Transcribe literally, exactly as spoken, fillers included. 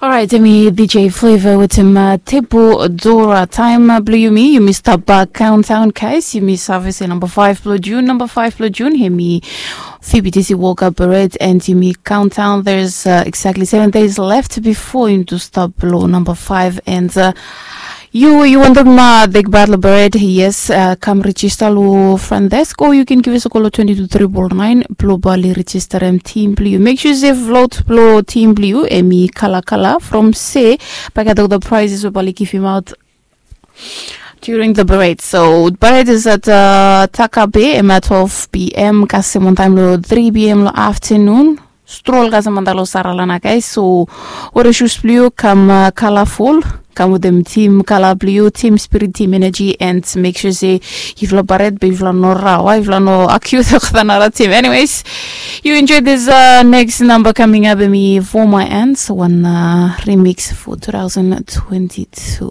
Orait, em i D J Flavor wetem Tepu Dora. Taem blong yumi, yumi stap bak kauntaon, guys. Yumi save se namba five blong Jun, namba five blong Jun, em i Fibitisi Woka Beret, and yumi kauntaon. There's exactly seven days left bifo yumi tu stap long namba five, and yu yu wantaem dek bat long Beret, yes, kam rejista long front desk, o yu ken givim sako long twenty two triple nine blong bali rejistarim tim blong yu. Mek sua se flot blong tim blong yu em i kala kala from se bagat ol the prizes we bali givim aot during the parade. So parade is at Takabe, em at twelve p.m. Kasem on time lo three p.m. lo afternoon. Stroll kasem on time lo Saralana, guys. So wear your shoes blue, come colorful, come with them team color blue, team spirit, team energy, and make sure say if la parade, but if la no rawa, if la no acute another team. Anyways, you enjoy this uh, next number coming up, me for my ends one uh, remix for two thousand twenty-two.